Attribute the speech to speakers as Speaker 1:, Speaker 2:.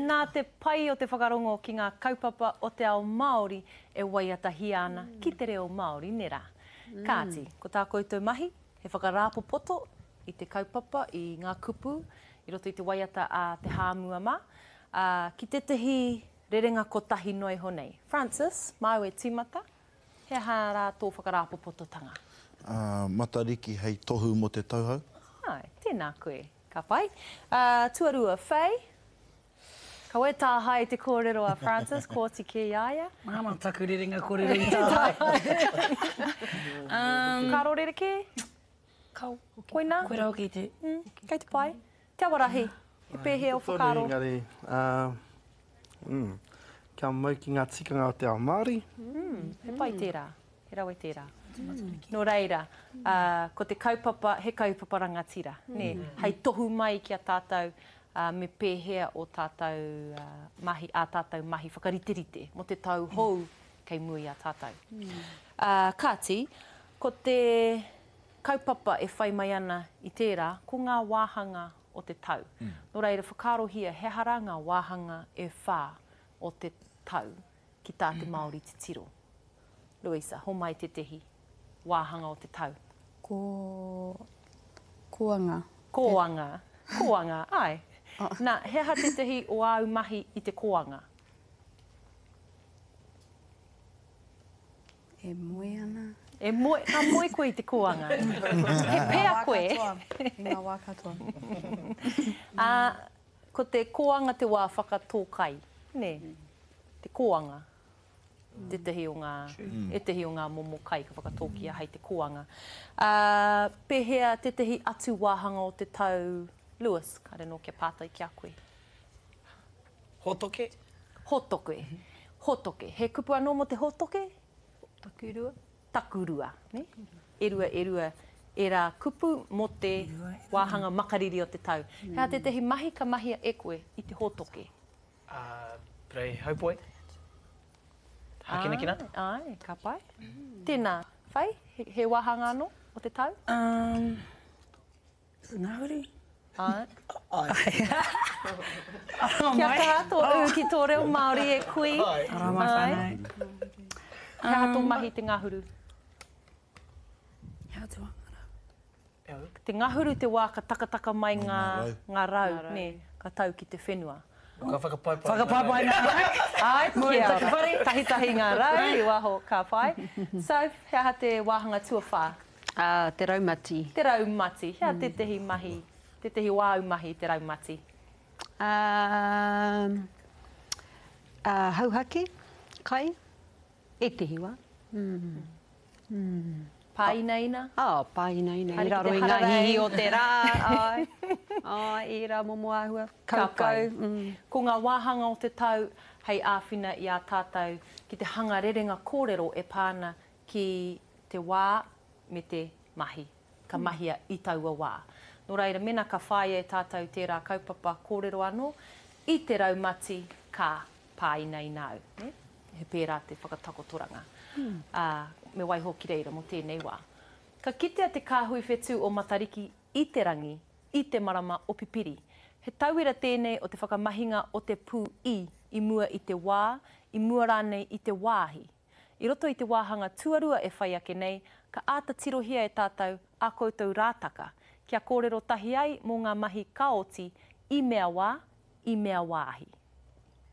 Speaker 1: Nā te pai o te whakarongo ki ngā kaupapa o te ao Māori e waiatahia ana ki te reo Māori, nē rā? Kāti, ko tā koutou mahi, he whakarāpopoto i te kaupapa, i ngā kupu, i roto i te waiata a Te Hāmua mā, ā, ki tētahi rerenga kotahi noa iho nei. Francis, māu e tīmata, he aha rā tō whakarāpopototanga?
Speaker 2: Ā, Matariki hei tohu mō te tauhou.
Speaker 1: Āe, tēnā koe. Ka pai. Ā, tuarua, Faye, kaua e tāhae te kōrero a Francis, kua oti kē i a ia.
Speaker 3: Māmā taku rerenga kōrero i tāhae.
Speaker 1: Whakaaro rerekē?
Speaker 3: Kao.
Speaker 1: Koinā?
Speaker 3: Koirā hoki te.
Speaker 1: Mm, kei te pai. Te Awarahi, he pēhea ō whakaaro?
Speaker 4: Tonu engari, ā, mm, kia mau ki ngā tikanga o te ao Māori.
Speaker 1: Mm, he pai tērā, he rawe tērā. Nō reira, ā, ko te kaupapa, he kaupapa rangatira, nē, hei tohu mai ki a tātou, ā, me pēhea ō tātou mahi, ā tātou mahi whakariterite mō te tau hou kei mua i a tātou. Ā, kāti, ko te kaupapa e whai mai ana i tērā, ko ngā wāhanga o te tau. Nō reira, whakaarohia he aha rā ngā wāhanga e whā o te tau ki tā te Māori titiro. Louisa, homai tētehi wāhanga o te tau.
Speaker 5: Ko, kōanga.
Speaker 1: Kōanga, kōanga, āe. Nā, he aha tētehi o āu mahi i te kōanga?
Speaker 5: E moe ana.
Speaker 1: E moe, ka moe koe i te kōanga. He pea koe.
Speaker 5: I ngā wā katoa. I ngā wā katoa.
Speaker 1: Ā, ko te kōanga te wā whakatō kai, nē? Te kōanga. Tētahi o ngā, ētahi o ngā momo kai ka whakatōkia hei te kōanga. Ā, pēhea tētahi atu wāhanga o te tau, Lewis, kāre anō kia pātai ki a koe.
Speaker 6: Hōtoke.
Speaker 1: Hōtoke. Hōtoke. He kupu anō mō te hōtoke?
Speaker 5: Takurua.
Speaker 1: Takurua. Ne? E rua, e rua ērā kupu mō te wāhanga makariri o te tau. He aha tētahi mahi ka mahia e koe i te hōtoke?
Speaker 6: Uh, parei haupoi. Hākinakina.
Speaker 1: Āe, ka pai. Tēnā, Whai, he, he wāhanga anō o te tau?
Speaker 3: Um, Ngahuru?
Speaker 1: Āe. Āe. Kia kaha tō ū ki tō reo Māori e kui.
Speaker 3: Āe. Ara mai whānau.
Speaker 1: He aha tō mahi te ngahuru?
Speaker 3: He aha te wā ngā rau?
Speaker 1: Te ngahuru te wā ka takataka mai ngā, ngā rau, nē, ka tau ki te whenua.
Speaker 6: Ka whakapaipai
Speaker 3: ngā rau. Whakapaipai ngā rau.
Speaker 1: Āe, kia ora. Tahitahi ngā rau i waho, ka pai. Soph, he aha te wāhanga tuawhā?
Speaker 7: Ā, te raumati.
Speaker 1: Te raumati. He aha tētehi mahi, tētehi o āu mahi i te raumati?
Speaker 7: Ā, ā, hauhake, kai, ētehi wā. Mm. Mm.
Speaker 1: Pāinaina?
Speaker 7: Ā, pāinaina, i raro i ngā hihi o te rā, āe. Āe, ērā momo āhua, kaukau. Mm.
Speaker 1: Ko ngā wāhanga o te tau hei āwhina i a tātou ki te hanga rerenga kōrero e pā ana ki te wā me te mahi ka mahia i taua wā. Nō reira, mēnā ka whāia e tātou tērā kaupapa kōrero anō, i te raumati ka pāinaina au, nē? He pērā te whakatakotoranga. Ā, me waiho ki reira mō tēnei wā. Ka kitea te kāhui whetū o Matariki i te rangi, i te marama o Pipiri. He tauira tēnei o te whakamahinga o te pū i i mua i te wā, i mua rānei i te wāhi. I roto i te wāhanga tuarua e whai ake nei, ka āta tirohia e tātou ā koutou rātaka, kia kōrero tahi ai mō ngā mahi ka oti i mea wā, i mea wāhi.